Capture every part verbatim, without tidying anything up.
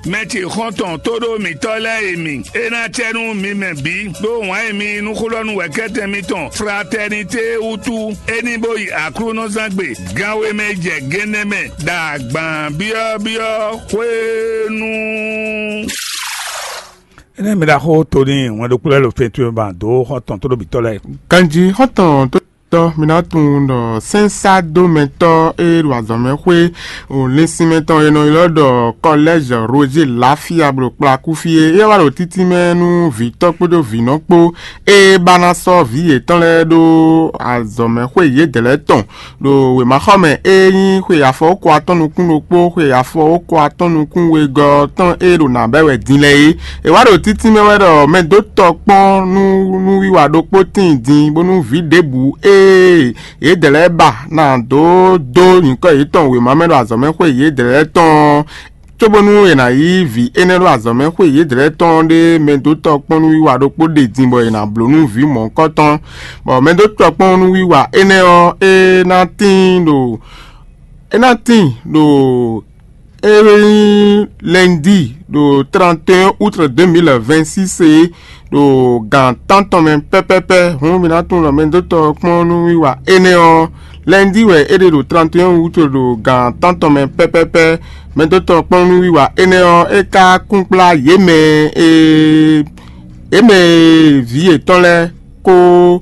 Mɛ ce xɔ́ntɔn tóɖó mǐtɔn lɛ́ɛ e mi, é ná cɛ nú mi mɛ bǐ, ɖó wǎn e mi nú xó lɔ nú wɛ̌kɛ́tɛn mitɔn Fraternité wútu, é ní bó yi Aklúnɔzán gbe, gan e mɛ jɛ gennɛ mɛ ɖo agban byɔ́byɔ́ hwenu. Énɛ́ mi ɖaxó Toni wɛn ɖokpó lɛ́ɛ ɖo fɛ́ntu e ba dó xɔ́ntɔn tóɖó mǐtɔn lɛ́ɛ. Ganjí xɔ́ntɔn tó tɔ́ mi ná tunwun ɖɔ sɛ́nsádomɛtɔ́ e ɖo azɔ̌mɛxwé o lɛ́nsinmɛ tɔn e nɔ ylɔ́ ɖɔ Kɔlɛ́zhi Roger Lafia ɖo kplakúfí é, é wá ɖo títínmɛ nú vǐtɔ́ kpódó vǐnɔ kpó, e ba ná sɔ́ vǐ yětɔn lɛ́ɛ ɖó azɔ̌mɛxwé yědɛɛ lɛ́ɛ tɔn ɖo wěmaxɔmɛ e nyí xwe afɔwókɔ atɔ́ɔ́n nukún ɖokpó, xwe afɔwókɔ atɔ́ɔ́n nukún wegɔ́ tɔn e ɖo nǎ bɛ́ wɛ din lɛ́ɛ é. È wá ɖo títínmɛ wɛ ɖɔ mɛ dó tɔ kpɔ́n nú nú wiwa ɖokpó tíin din, bónú vǐ ɖěbǔ e yědɛɛ lɛ́ɛ ba ná dó dó nyǐkɔ yětɔn wěma mɛ ɖo azɔ̌mɛxwé yědɛɛ lɛ́ɛ tɔn ɔ́, cóbónú è nǎ yí vǐ énɛ́ ɖo azɔ̌mɛxwé yědɛɛ lɛ́ɛ tɔn ɔ́ ɖe mɛ dó tɔ kpɔ́n nú wiwa ɖokpó ɖe din bɔ è nǎ bló nú vǐ mɔ̌hunkɔtɔn, bɔ mɛ dó tɔ kpɔ́n nú wiwa énɛ́ ɔ́, é ná tíin ɖo é ná tíin ɖo é nyí lɛndi ɖo trente et un août deux mille vingt-six é, ɖo gan tántɔn mɛ pɛ́pɛ́pɛ́. Hǔn mi ná tunwun ɖɔ mɛ dó tɔ kpɔ́n nú wiwa énɛ́ ɔ́, lɛndi wɛ é ɖe ɖo trente et un août ɖo gan tántɔn mɛ pɛ́pɛ́pɛ́. Mɛ dó tɔ kpɔ́n nú wiwa énɛ́ ɔ́, é ka kún kplá yě mɛ e yě mɛ e vǐ yětɔn lɛ́ɛ kó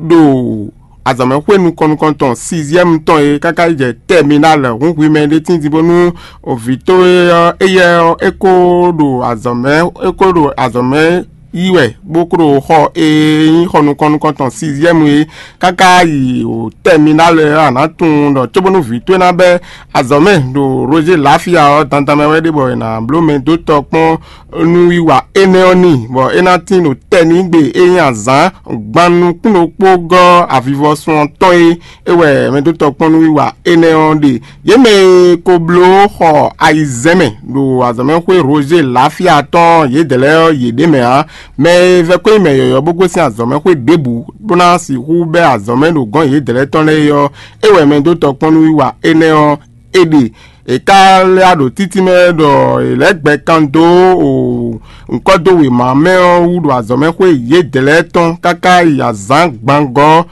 ɖo azɔ̌mɛxwé nukɔn nukɔn tɔn sixième tɔn e káká yi jɛ tɛminal hǔn hwi mɛ ɖé tíntin bónú vǐ towe ɔ́, éyɛ́ ɔ́, é ko ɖo azɔ̌mɛ é ko ɖo azɔ̌mɛ yí wɛ, bó ko ɖo xɔ e nyí xɔ nukɔn nukɔn tɔn sixième é káká yi o tɛminal ɔ́, a nǎ tunwun ɖɔ cóbónú vǐ towe ná bɛ́ azɔ̌mɛ ɖo Roger Lafia ɔ́, dandan mɛ wɛ ɖe bɔ è nǎ bló mɛ dó tɔ kpɔ́n nú wiwa énɛ́ ɔ́ n'i, bɔ é ná tín ɖo tɛ́ n'i gbe e nyí azǎn gban nukún ɖokpó gɔ́ avivɔsun ɔ́ tɔn é. É wɛ mɛ dó tɔ kpɔ́n nú wiwa énɛ́ ɔ́ ɖe. Yě mɛ e ko bló xɔ ayizɛ́n mɛ ɖo azɔ̌mɛxwé Roger Lafia tɔn yědɛɛ lɛ́ɛ ɔ́, yě ɖ'é mɛ ǎ. Mɛ e vɛ́ kó nyí mɛ yɔ̌yɔ́ bó gosín azɔ̌mɛxwé ɖěbǔ bó ná sixú bɛ́ azɔ̌mɛ ɖo gɔ̌n yědɛɛ lɛ́ɛ tɔn lɛ́ɛ é ɔ́, é wɛ mɛ dó tɔ kpɔ́n nú wiwa énɛ́ ɔ́ é ɖe. È ka lɛ́ ɖo títí mɛ ɖɔ è lɛ́ gbɛ kan dó o ŋkɔ́ dó wěma mɛ ɔ́ wú ɖo azɔ̌mɛxwé yědɛɛ lɛ́ɛ tɔn káká yi azǎn gbangɔ́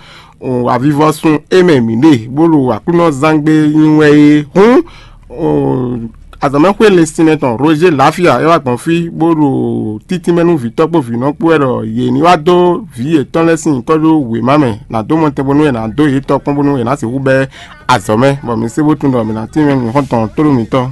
o avivɔsun é mɛ mǐ ɖe, bó ɖo Aklúnɔzángbe nyi wɛ é. Hǔn o azɔ̌mɛxwé linsinmɛ tɔn Roger Lafia é wá gbɔn fí, bó ɖo títí mɛ nú vǐtɔ́ kpó vǐnɔ kpó wɛ ɖɔ yě ní wá dó vǐ yětɔn lɛ́ɛ sín nyǐkɔ ɖó wěma mɛ, nǎ dó mɔtɛn bónú è nǎ dó yě tɔ́ kpɔ́n bónú è nǎ sixú bɛ́ azɔ̌ mɛ, bɔ mi sé bó tunwun ɖɔ mǐ ná tínmɛ nǔ xɔ́ntɔn tóɖó mǐtɔn.